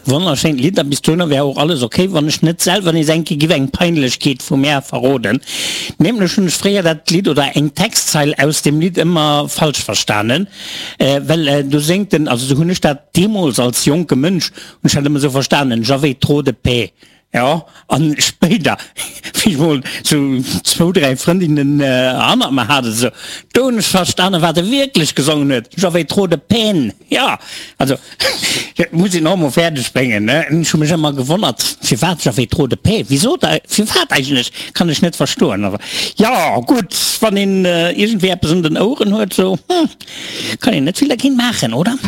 Wonnerschéint Lidd a bis dohinner wär och alles ok, wann ech net selwer nees eng Kéier giff eng Peinlechkeet vu mär verroden. Nämlech hunn ech fréier dat Lidd oder eng Textzeil aus dem Lidd ëmmer falsch verstanen, well do séngt en, also sou hunn ech dat deemools als jonke Mënsch hunn ech dat ëmmer sou verstanen, J'avais trop de paix. Jo, an spéider, wéi ech mol sou zwou, dräi Frëndinnen hannert mer hat, esou, do hunn ech verstanen, wat e wierklech gesongen huet, J'avais trop de peine. Jo, also, dat muss een och emol fäerdeg bréngen, ne? Ech hu mech ëmmer gewonnert, firwat J'avais trop de peine, wisou da, firwat eigentlech, kann ech net verstoen. Awer jo, gutt, wann een iergendwéi eppes un den Oueren huet, sou, hm, kann een net vill dergéint maachen, oder?